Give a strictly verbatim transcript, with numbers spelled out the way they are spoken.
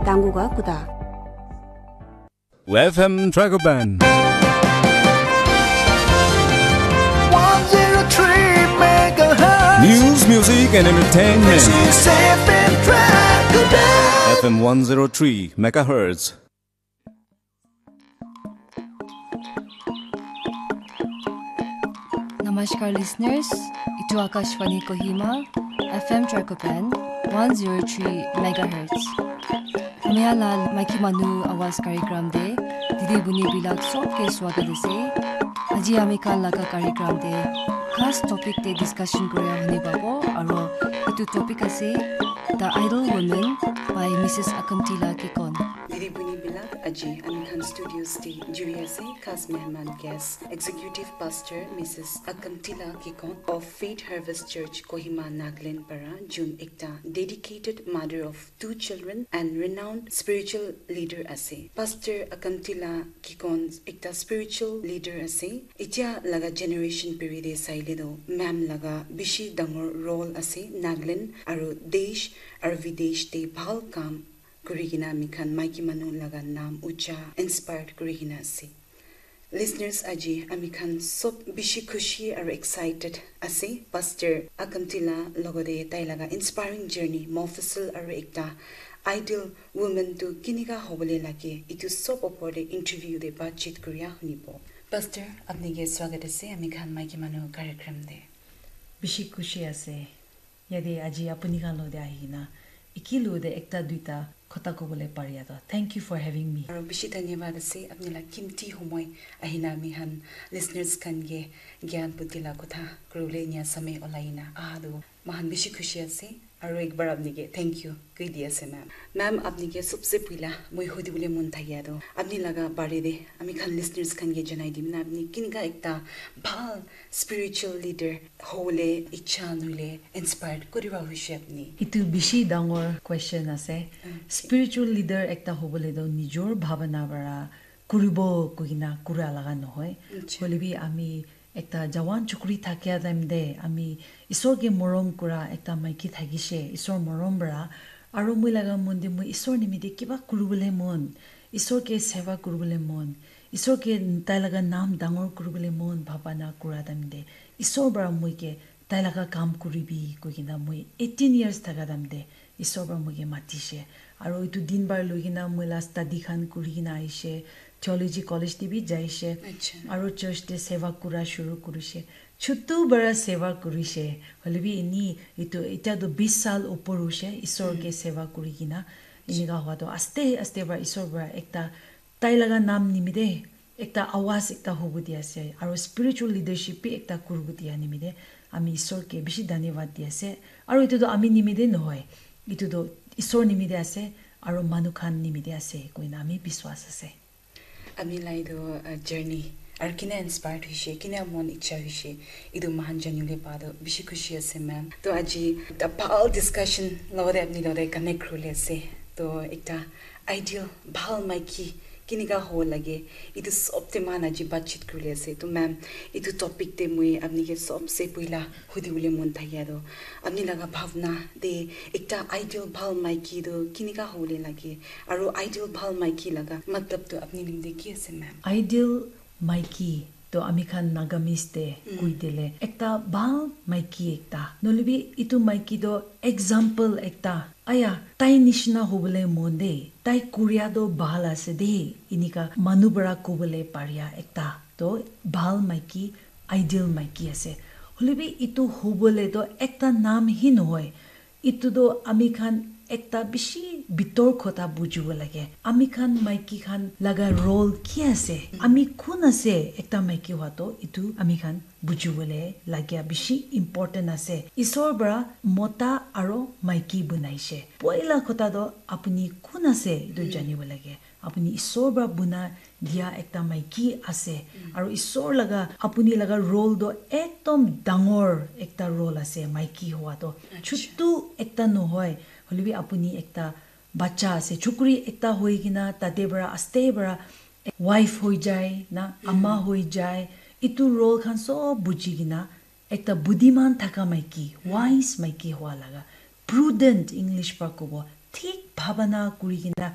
Dangu ga kuda. F M Dragoban. one zero three megahertz. News, music, and entertainment. This is F M Dragoban. F M one zero three megahertz. Namaskar listeners, itu Akashvani Kohima, F M Dragoban, one zero three megahertz. Hamya la maiki manu awas karikram de, didi buni bilak sob ke swagat ase. Aji ami khan laga karikram de, khas topic de discussion koria huni babo, aro itu topic ase, The Idle Woman by Missus Akamtila Kikon. Didi buni bilak aji ami khan studios de juri ase, khas mehman guest, Executive Pastor Missus Akamtila Kikon of Faith Harvest Church, Kohima, Nagaland para, jun ekta dedicated mother of two children and renowned spiritual leader ase. Pastor Akamtila Kikon ekta spiritual leader ase. Etia laga generation period de saile do, ma'am laga bishi dangor role ase. Nagaland aru desh aru videsh de bhal kam kuri kena ami khan maiki manu laga naam ucha inspired kuri kena ase. Listeners, aji ami khan sob bishi khushi aru excited ase. Pastor Akamtila logode tai laga inspiring journey, Mofussil aru ekta ideal woman tu kinika hobole lage, itu sob opor de interview de baatchit kuria hunibo. Pastor, apni ke swagat ase ami khan maiki manu karikram de. Bishi khushi ase. Yate aji apuni khan lode ahikena ekilu de ekta duita khota kobole paria toh. Thank you for having me. Aro bishi dhanyabad ase apni la kimti homoi ahina ami khan listeners khan ke gyan buddhi la kotha kuribole nya samay olai na aha tu moikhan bishi khushi ase. Aro ek bar apni ke thank you koi di ase ma'am. Ma'am apni ke sobse puila moi hudi bole mon thakia tu apni laga bare de ami khan listeners khan ke janai dim na apni kinka ekta bhal spiritual leader hobole icha nohoile inspired kuriba hoishe apni? Itu bishi dangor question ase. Spiritual leader ekta hobole toh nijor bhabana para kuribo koina kura laga nohoi. Hoile bi ami ekta jawan chukri thakia time te ami Isor ke morom kura ekta maiki thakishe, Isor morom para aru moi laga mon te moi Isor nimite kiba kuribole mon, Isor ke seva kuribole mon, Isor ke tai laga naam dangor kuribole mon bhabana kura time te Isor para moi ke tai laga kam kuribi koi kena moi eighteen years thaka time te Isor para moi ke matishe. Aru etu din bar loi kena moi la study khan kuri kena aishe, theology college te bi jaishe. Aru church te seva kura shuru kurishe. Chutu para seva kurishe. Hoile bi ini etu eta tu bis sal upor hoishe Isor ke seva kuri kena. Enika hua tu aste aste para Isor para ekta tai laga naam nimite ekta awaz ekta hobo di ase aru spiritual leadership bi ekta kuribo dia nimite ami Isor ke bishi dhanyabad di ase. Aru etu tu ami nimite nohoi, etu tu Isor nimite ase aru manu khan nimite ase koina ami biswas ase. Ami la etu journey aru kina inspired hoishe, kina mon icha hoishe, etu moikhan janile pa tu bishi khushi ase ma'am. To aji ekta bhal discussion logate apni logate connect kuribole ase. To ekta ideal bhal maiki kinika hobo lage, etu sob te moikhan aji baatchit kuribole ase. To ma'am, etu topic te moi apni ke sobse puila hudi bole mon thakia tu apni laga bhabna te ekta ideal bhal maiki tu kinika hobole lage aru ideal bhal maiki laga matlab tu apni nimite ki ase ma'am? Ideal maiki to ami khan Nagamese te koi dile ekta bhal maiki ekta nohoile bi etu maiki to example ekta aya tai nishina hobole mon de, tai kuria to bhal ase de, enika manu para kobole paria ekta to bhal maiki, ideal maiki ase. Hoile bi etu hobole to ekta naam hi nohoi, etu tu ami khan ekta bishi bitor kotha bujibo lage. Ami khan maiki khan laga role ki ase? Ami kun ase? Ekta maiki hua tu etu ami khan bujibole lagia bishi important ase. Isor para mota aro maiki bunaishe. Poila kotha tu apuni kun ase etu janibo lage. Apuni Isor para buna dia ekta maiki ase. Aro Isor laga, apuni laga role toh ekdom dangor ekta role ase maiki hua toh. Chutu ekta nohoi, hoilebi apuni ekta bacha ase. Chukri ekta hoi kena tate para, aste para wife hoi jai na, ama hoi jai. Etu role khan sob buji kena ekta buddhiman thaka maiki, wise maiki hua laga. Prudent English para kobo. thik bhabana kuri kena